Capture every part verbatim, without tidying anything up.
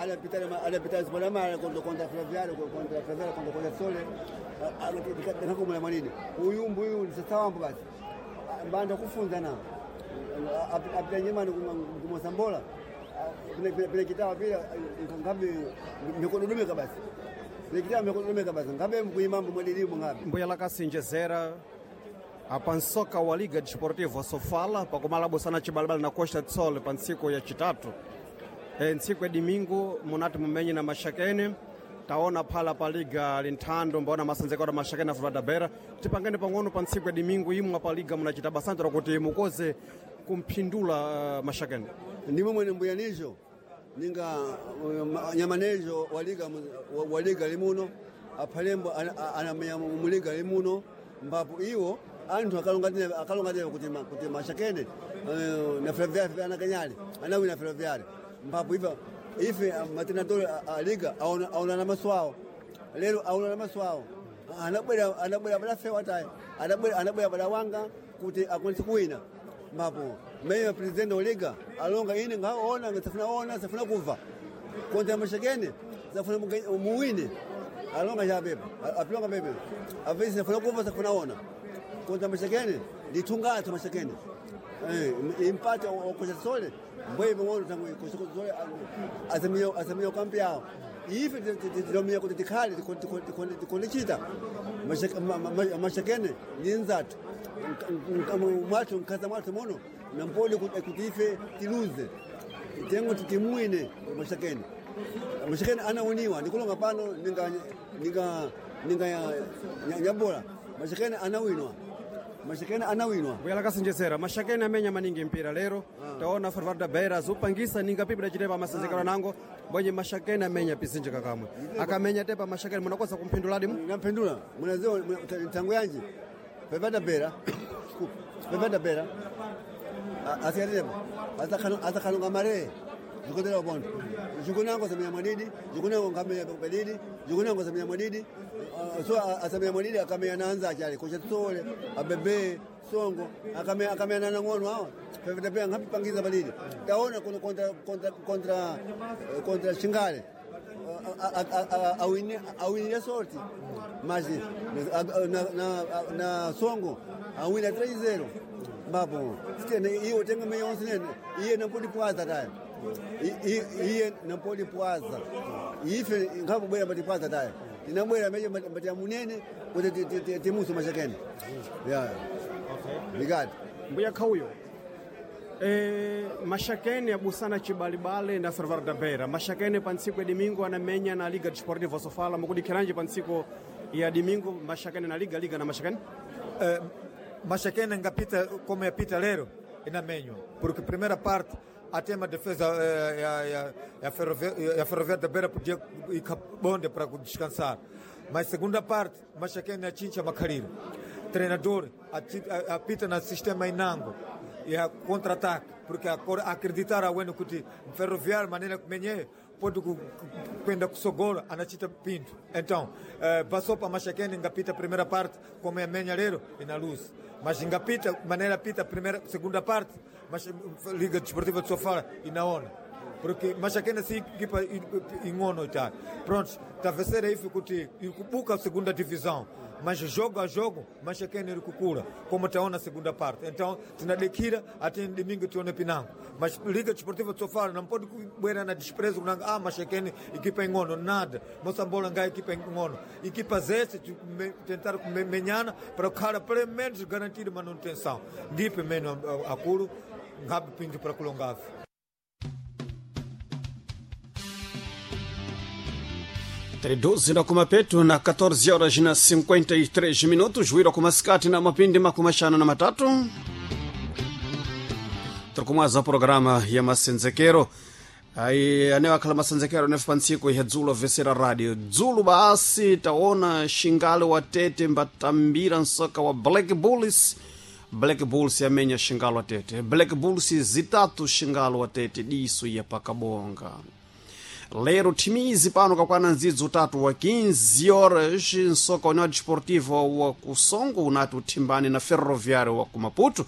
Alapita alapita Panamá contra contra Ferroviário, contra Ferroviário, contra contra Sole, ndikakumula mwanini uyu mbuyu ndisasawambo basi mbanda kufunza na apita nyemani kumosambola pile kitawa pile ngabe mikododumeka basi pile kitawa mikododumeka basi ngabe mkuimambo mwadilimu ngabe Mbuya lakasinjezera apa nsoka wa Liga Desportiva Sofala pakumala busana chibalibali na Costa do Sol pa ntsiku ya chitatu e, ntsiku ya domingo munati mumenye na Maxakene taona phala pa liga linthando mbaona masanzekero Maxakene afula da Beira tipangane pang'ono pa ntsiku ya domingo imwe pa liga munachita basantro kuti mukoze kumphindula uh, Maxakene ndimo mwene mbuyanizo ninga uh, nyamanezo waliga waliga limuno aphalembo anamenya muliga limuno mbapo iwo anthu akalonga akalonga kuti kuti mashakene uh, na ferroviário anakanyali anawina ferroviário mbapo iva ife matenador a liga aona aona na maso awo lero aona na maso awo anabwera anabwera bada fewa tayi anabwera anabwera bada wanga kuti akwanise kuwina mbapo meyo president wa liga alonga ine ngaona ngasafuna ona safuna kuva kontra mashakene safuna muwine alonga chapepa apilonga pepe avesi safuna kuva safuna ona kontra mashakene ndithungathu mashakene eh impate okocha sole mbwe bongono tangu kocha sole asemiyo asemiyo kampi yao ife tilomia kuti tikhale tikondichita mashakene ni nzathu mwathu mkhaza mwathu muno nampoli kuti ife tiluze tengo titimwine mashakene mashakene anauniwa ndikulonga pano ninga ninga ninga nyabola mashakene anawinwa mashakene anawinwa Mbuya lakasinjezera Maxakene amenya maningi mpira lero taona Ferroviário da Beira azupangisa ninga pipi dachitepa masenzekero nango mbonye Maxakene amenya pizinji kakamwe akamenya tepa Maxakene munakoza kumphinduladi mu namphendula munaziwa tangu yanji pepata bera pepata bera asikatetepa asakhalonga mare zikotera upondo zikunango samenya mwadidi zikunango nkamenya pedidi zikunango samenya mwadidi so asamenya mwadidi akamenya nanza achale kocha tsole abebe songo akamenya akamenya nang'ono awa pepata bera nkapipangiza padidi taona kontra kontra kontra kontra shingale awinile sorti mas na, na, na songo awina três zero mbapo iwo tenga meya onse nene iye nampodi pwaza taya iye nampodi pwaza ife nkapobwera mbati pwaza taya tinabwera meje mbati amunene kuti timuso mashakene ya obrigado Mbuya khauyo E, Maxakene abusana chibalibale na Ferroviário da Beira. Maxakene pa ntsiku ya domingo anamenya na Liga Desportiva Sofala mukudikhiranji pa ntsiku ya domingo Maxakene na Liga Liga na Maxakene Eh, Maxakene ngapita como yapita lero inamenywa porque primeira parte até uma defesa eh, ya, ya, ya, ferrovia, ya Ferroviária da Beira podia ir bonde para descansar mas segunda parte Maxakene achincha makhaliro treinador ati- a- apita na sistema inango ya contra-ataque porque acor- acreditar awene kuti Ferroviário maneira kumenye pode ku- ku- kwenda kusogola anachita pinto então eh, passou para Maxakene ngapita a primeira parte como é menya lero e na luz mas ngapita maneira pita a primeira segunda parte mas Liga Desportiva de Sofala e na ona porque Maxakene si equipa ingono tá pronto talvez seja isso kuti ikubuka a segunda divisão mas jogo a jogo Maxakene ilikukula como taona segunda parte então tinadekira até domingo tione pinango mas Liga Desportiva de Sofala não pode kubwera na desprezo kunanga ah Maxakene equipa ingono nada Moçambola ngai equipa ingono equipa zese tu- me- tentar me- menyana para khala pelo menos garantir manutenção ndipe meno akulu ngabe pinto para kulongavi doze na kumapeto na catorze horas na cinquenta e três minutos wira kumasikati na mapindi makumi axanu na matatu tirikumwaza programa ya masenzekero ai ane akhala masenzekero nefe pa ntsiku ya dzulo vesera radio dzulo basi taona xingale wa tete mbatambira nsoka wa Black Bulls. Black Bulls yamenya xingalo wa tete Black Bulls zitatu xingalo wa tete diso ya pakabonga lero timizi pano kakwana ndzidzi utatu wa quinze horas nsoka União Desportiva wa Kusongo unati uthimbane na Ferroviário wa Kumaputo.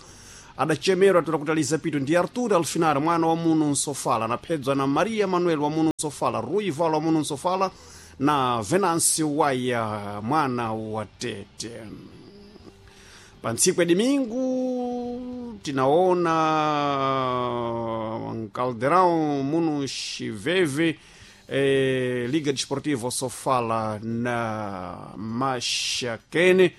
Adachemerwa toda pito ndi Artur Alfinar, mwana wa muno Nsofala, anaphedzwa na Maria Manuel wa muno Nsofala, Rui Vala wa muno Nsofala na Venancio Waya mwana wa Tete. Pa ntsiku ya domingo tinaona Caldeirão muno Chiveve, eh, Liga Desportiva Sofala na Maxaquene,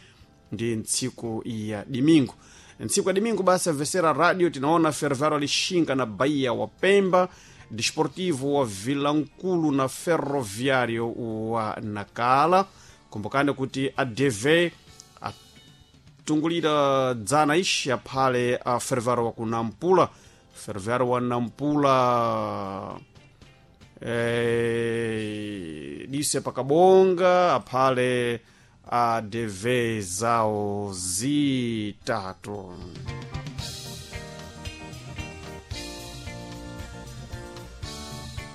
ndi ntsiku ya domingo. Ntsiku ya domingo basi avesera radio tinaona Ferroviário Lixinga na Bahia wa Pemba, Desportivo wa Vilankulu na Ferroviário wa Nacala. Kumbukani kuti A D V atungulira dzana ixi aphale a Ferroviário wa ku Nampula. Ferroviário wa Nampula eh, dise pakabonga aphale A D V zawo zitatu.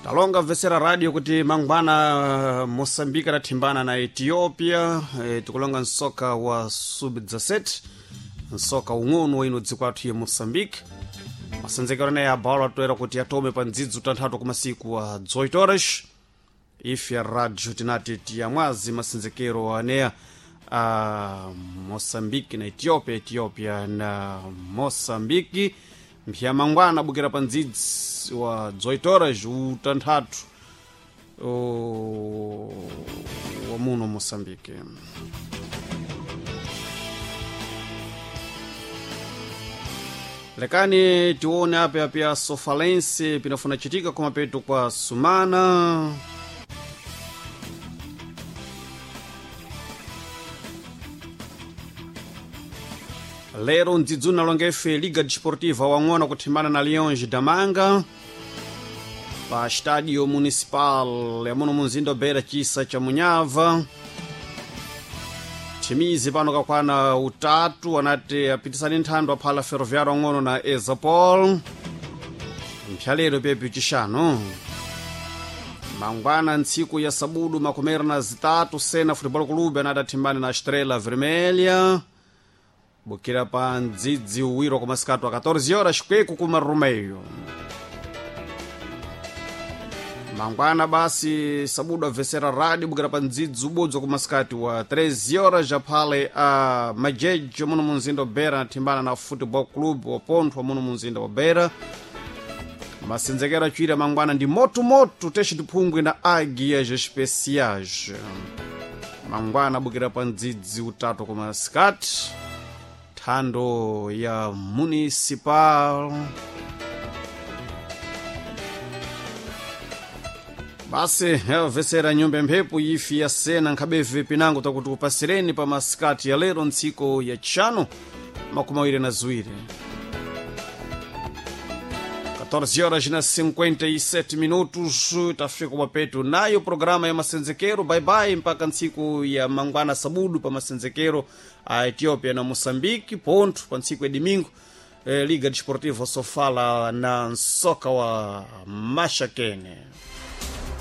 Talonga vesera radio kuti mangwana Moçambique adathimbana na Ethiopia. E, tikulonga msoka wa sub dezessete, msoka ung'ono wa ino dziko athu ya Moçambique. Masenzekero anayi abalo atoera kuti atome pa ndzidzi utanthatu kumasiku wa dezoito horas. Ife ya radio tinati tiyamwazi masenzekero aneya a Moçambique na Ethiopia, Ethiopia na Moçambique. Mpya mangwana abukira pa ndzidzi wa dezoito horas utanthatu wa muno Moçambique. Lekani tione ape apya Sofalense pinafuna chitika kumapeto kwa sumana. Lero ndzidzuna longefe Liga Desportiva wang'ono kuthimbana na Leões da Manga pa Estádio Municipal ya muno munzinda Beira, chisa cha Munyava. Chimizi pano kakwana utatu anati apitisani nthando aphala Ferroviário ang'ono na Ezapol. Mphyalero pepi chixano mangwana ntsiku ya sabudu makumeri na zitatu Sena Futebol Clube anati athimbane na Estrela Vermelha bukira pa ndzidzi uwiro kumasikatu a catorze horas kweku kuma Rumeio. Mangwana basi sabudu avesera rádio bukira pa ndzidzi ubodzi kumasikati wa treze horas aphale a Majejo muno munzinda wa Beira anathimbana na Football Club wa Ponthwa muno munzinda wa Beira. Masenzekero acuira mangwana ndi motomoto teste tiphungwe na Águias Especiais. Mangwana abukira pa ndzidzi utatu kumasikati thando ya Municipal. Basi yavesera nyumba mphepo ifi ya sena nkhabeve pinango takuti kupasireni pa masikati ya lero ntsiko ya txano makumi awiri na ziwiri catorze horas na cinquenta e sete minutos tafika mapeto nayo programa ya masenzekero. Bye bye mpaka ntsiku ya mangwana sabudu pa masenzekero a Ethiopia na Moçambique ponto pa ntsiku ya domingo, eh, Liga Desportiva Sofala na nsoka wa Maxaquene.